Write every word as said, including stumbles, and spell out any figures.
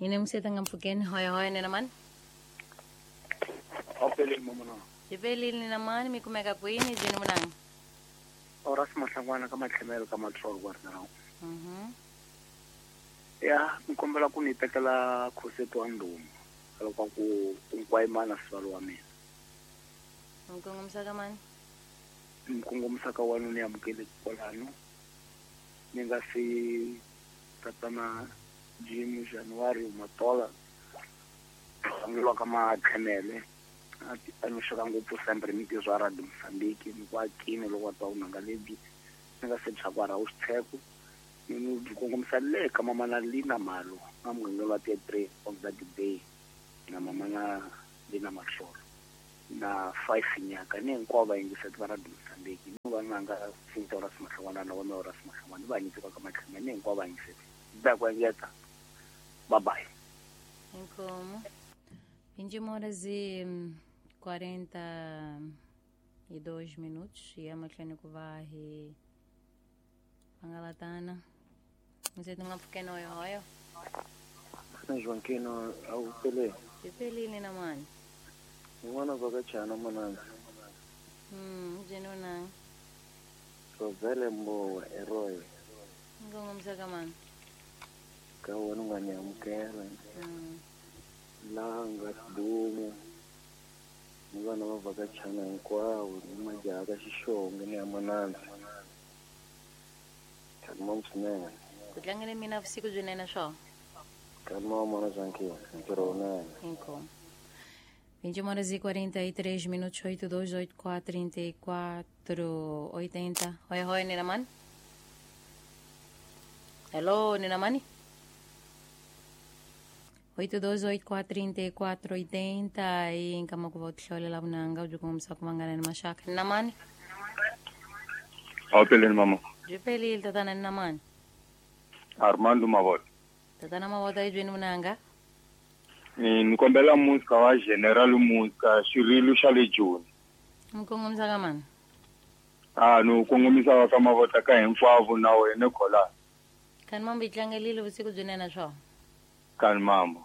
Yini msetanga mpfukeni hoya hoya nena mani? Awupeleli mama na. Yipelile nena mani mi kumeka kwini jini munanga? Ora simahlangwana ka matlhemelo ka matrol kwa rina. Mhm. Ya, nkombela ku ni tekela khoseto wa ndumo. Loko ku kunkwayimana sivalo wa mina. Mkongomisa ka mani? Mkongomisa ka wanu ni amukele kwalano. Ni nga si tatana Jim January Matola. Angilwa ka matlhemele. A ni xaka ngopfu sempre mi tizwa Radio Mozambique ni kwa kini loko wa twa unanga lebyi ni nga se bya ra usitheko ni ni byi kongomisa le ka mama na Lina Malo na muganga wa three of that day na mama na Lina Mahlolo na five nyaka ni hinkwavo va yingiseti va Radio Mozambique ni va nanga Sinta ra Simahlongwana na wona ra Simahlongwana va nyika ka matlhema ni hinkwavo va yingiseti ba ku engeta bye bye. Inkomo vinte e uma horas e quarenta e dois minutos e emahlweni ku va hi hangalatana ndzi nga pfukeni hoyo hoyo Joaquino awupele Yipelile na mani n'wana vhakachana manana mm jeno Rovele mbowa eroy ngongomisa ka mani ka wena u nga ni amukela mm langa sidumo ni vana va vhakachana hinkwavo ni majaha ka xixonge ni ya manana kalma swinene ku tlangele mina vusiku byinene swo kalma mana Joaquino ntirho wunene inkomo vinte e uma horas e quarenta e três minutos, oito dois oito quatro trinta e quatro oitenta. Oi, oi, Nina Mani. Hello, Nina Mani. oito dois oito quatro trinta e quatro oitenta e em kama ku va hlolela vunanga byi kongomisa ku vangana ni maxaka. Nina Mani. Awupeleli mama. Byi pelile tatana Nina Mani. Armando Mavota. Tatana Mavota yi byeni vunanga. Ni kombela musika wa General Musika xirilo xa le Joni. Mkongomisa ka mani? Ah no kongomisa wa ka Mavota ka hinkwavo na wena khola. Kani mambo yi tlangelile vusiku byinene swo. Kani mambo.